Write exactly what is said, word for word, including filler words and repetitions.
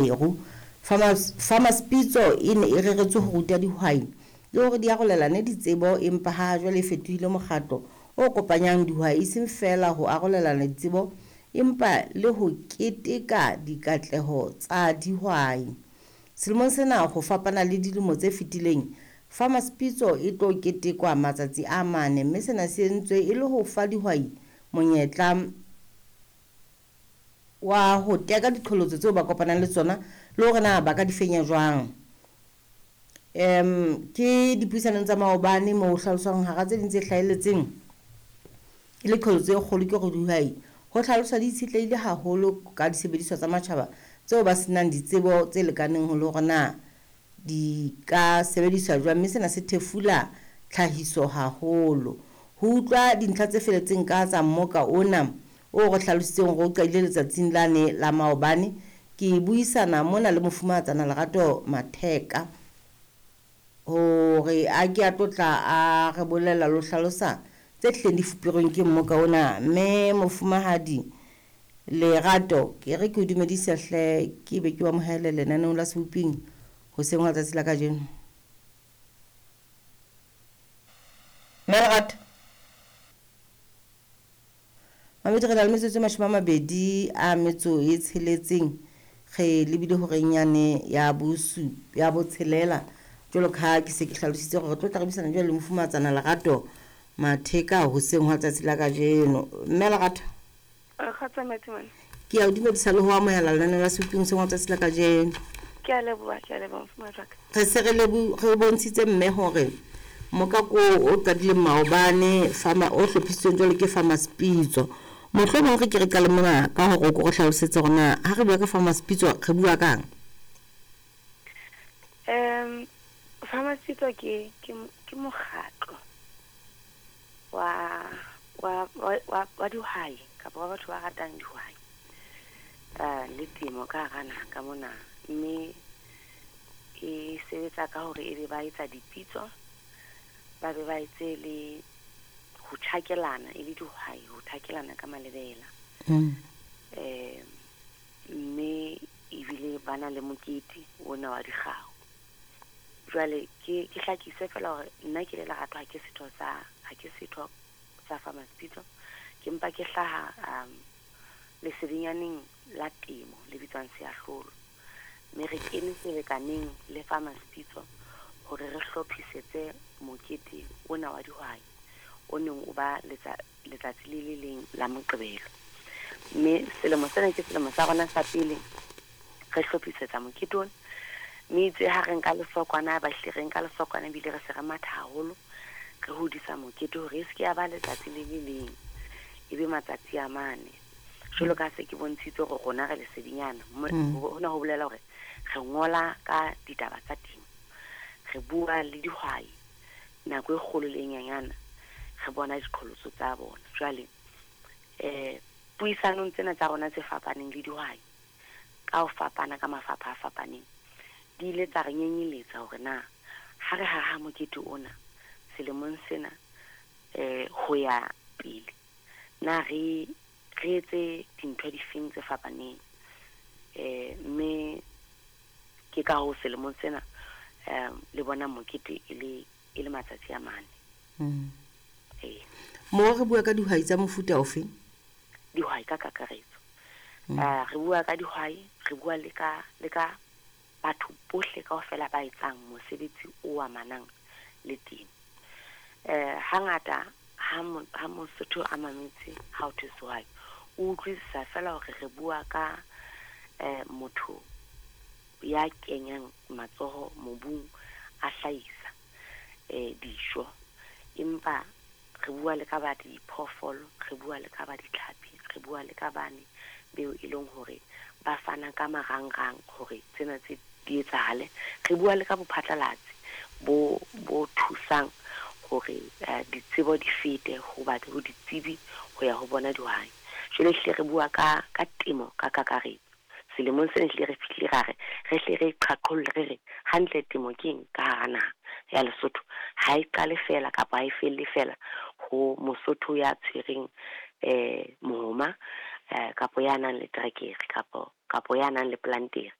Maseru. Farmers, Farmers Pitso e ne e reretswe ho ruta dihwai le hore di arolelane ditsebo, empa ha jwale e fetohile mokgatlo o kopanyang dihwai e seng feela ho arolelana ditsebo empa le ho keteka dikatleho tsa dihwai. Selemong sena ho fapana le dilemo tse fetileng, Farmers Pitso e tlo ketekwa matsatsi a mane, mme sena se entswe e le ho fa dihwai monyetla wa ho teka diqholotso tseo ba kopanang le tsona le hore na ba ka di fenya jwang. Um ke dipuisanong tsa maobane moo ho hlaloswang hara tse ding tse hlahelletseng e le qholotso e kgolo ke hore dihwai ho hlaloswa di itshetlehile haholo ka disebediswa tsa matjhaba tseo ba senang ditsebo tse lekaneng ho le hore na di ka sebediswa jwang, mme sena se thefula tlhahiso haholo. Ho utlwa dintlha tse feletseng ka tsa mmoka ona o re hlalositseng hore o qadile letsatsing lane la maobane, ke buisana mona le mofumahatsana Lerato Matheka hore a ke a tlotla a re bolella le ho hlalosa tse hlileng di fuperweng ke mmoka ona. Mme mofumahadi Lerato, ke re ke o dumedise hle, ke be ke o amohele lenaneong la Seboping hoseng hwa letsatsi la kajeno. Mme Lerato, Mamedi, re na le metsotso e mashome a mabedi a metso e tsheletseng, re lebile horeng yane ya bosu ya botshelela. Jwalo ka ha ke se ke hlalositse hore re tlo tla re buisana jwale le mofumahatsana Lerato Matheka hoseng hwa letsatsi la kajeno. Mme Lerato, Kgotsa Matsimane. ke a o dumedisa le ho amohela lenaneo la Seboping hoseng hwa letsatsi la kajeno. Ke a leboha, ke a leboha mofumahadi wa ka. Re se re lebo re bontshitse mme hore mokako o qadileng maobane farmer o hlophisitsweng jwalo ke Farmers Pitso. Mohlomong re ke re qale mona ka hore o ko re hlalosetse hore na ha re bua ka Farmers Pitso re bua kang. Um Farmers Pitso ke ke ke mokgatlo wa wa wa wa dihwai kapa wa batho ba ratang dihwai uh, le temo ka hara naha ka mona, mme e sebetsa ka hore ebe ba etsa dipitso, ba be ba etse le ho tjhakelana e le dihwai, ho thakelana ka malebela. Mm. Eh mme ebile ba na le mokete ona wa dikgao. Jwale ke ke hlakise fela hore nna ke le Lerato ha ke setho sa ha ke setho sa Farmers Pitso, ke mpa ke hlaha um lesedinyaneng la temo le bitswang Seahlolo, mme re kene selekaneng le Farmers Pitso hore re hlophisetse mokete ona wa dihwai o neng o ba letsa letsatsi le le leng la Moqebelo. Mme selemo sena ke selemo sa rona sa pele re hlophisetsa mokete ona, mme itse ha re nka lesokwana, ba hlile re nka lesokwana ebile re se re matha haholo re hodisa mokete hore e se ke ya ba letsatsi le le leng, e be matsatsi a mane. Jwalo ka se ke bontshitse hore rona re lesedinyana, Mm. hona ho bolela hore re ngola ka ditaba tsa temo, re bua le dihwai nako e kgolo le e nyenyana, re bona diqholotso tsa bona. Jwale eh puisanong tsena tsa rona tse fapaneng le dihwai ka ho fapana ka mafapha a fapaneng, di ile tsa re nyenyeletsa hore na ha re haha mokete ona selemong sena eh ho ya pele, na re re etse dintho difeng tse fapaneng. Eh mme ke ka hoo selemong sena um le bona mokete e le e le matsatsi a mane. Mm. Eh Mo re bua ka dihwai tsa mofuta ofe? Dihwai ka kakaretso. Mm. Uh, re bua ka dihwai, re bua le ka le ka batho bohle kaofela ba etsang mosebetsi o amanang le temo. Eh hangata ha mo, ha Mosotho a mametse ha ho thwe sehwai, o utlwisisa fela hore re bua ka eh motho ya kenyang matsoho mobung a hlahisa eh dijo, empa re bua le ka ba diphoofolo, re bua le ka ba ditlhapi, re bua le ka bane beo e leng hore ba fana ka marangrang hore tsena tse di etsahale. Re bua le ka bophatlalatsi bo bo thusang hore eh, ditsebo di fete ho ba ho ditsebi ho ya ho bona dihwai. Jwale hlile re bua ka ka temo ka kakaretso. Selemong sena hlile re fihlile ra re re hle re qhaqholle re re hantle temo ke eng ka hara naha ya Lesotho. Ha e qale fela kapa ha e felle fela ho Mosotho ya tshwereng eh mohoma eh kapo ya nang le terekere kapo Kapo ya nang le plantere.